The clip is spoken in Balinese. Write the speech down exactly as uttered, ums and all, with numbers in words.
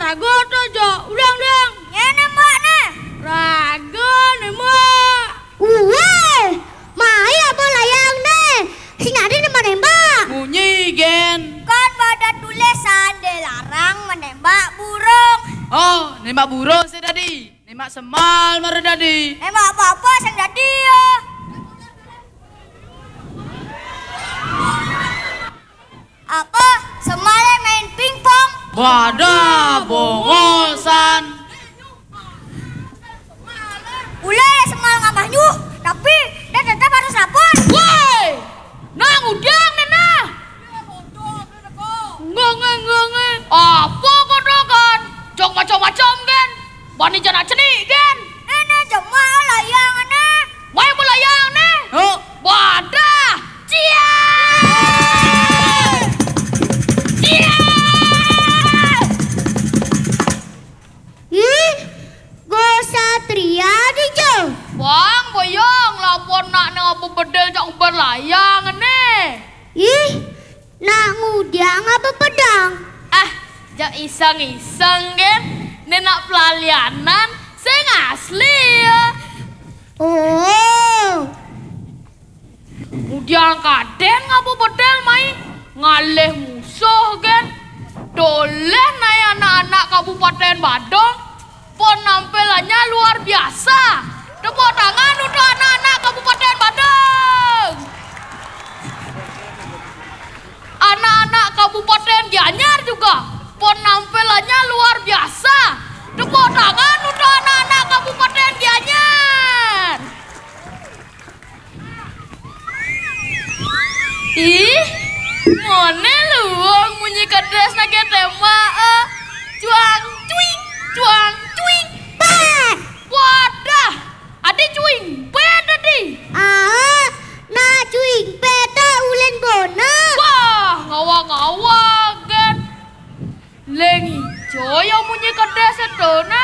Raga to, Jo. Ulang, ulang. Ngene, Mbak, ne. Raga, ne, Mbak. Uweh, mai apa layang ne? Sing ade nembak-nembak. Munyi, gen. Kan pada tulisan dilarang menembak burung. Oh, nembak burung sih tadi. Nembak semal mara dadi. Nembak apa-apa sing dadi ya. Apa? Semale main pingpong. Wadah, bongosan. Ule ya semal ngamah nyuh, tapi dia tetap harus lapor. Woi, nang udiang nena. Ngenge, ngenge. Apa kotokan? Jok macam-macam, gen. Bani jana cenik, gen. Nene jema layang ne. Mai mu layang ne. Ho. Wadah. Cia. Cia. Ih, go satria di, Jo. Bang, boyong, lapor nak ne apa bedel cak ubar layang ne. Ih, nak ngudiang apa pedang? Ah, jak iseng-iseng, gen. Ne nak pelalianan, sing asli ya. Oh. Ngudiang kaden ngapa bedel mai? Ngalih musuh, gen. Doleh nai anak-anak Kabupaten Badung. Penampilannya luar biasa. Tepuk tangan untuk anak-anak Kabupaten Badung. Anak-anak Kabupaten Gianyar juga penampilannya luar biasa. Tepuk tangan untuk anak-anak Kabupaten Gianyar. Ih, mone luung munyi kedesne, gen, tembak, eh. Cuang, cuing, cuang, cuing. Pet. Wadah, ade cuing pet tadi. Ah, nah cuing pet ulen bona. Wah, ngawa-ngawa, gen. Leng ijo ya munyi kedes sedona.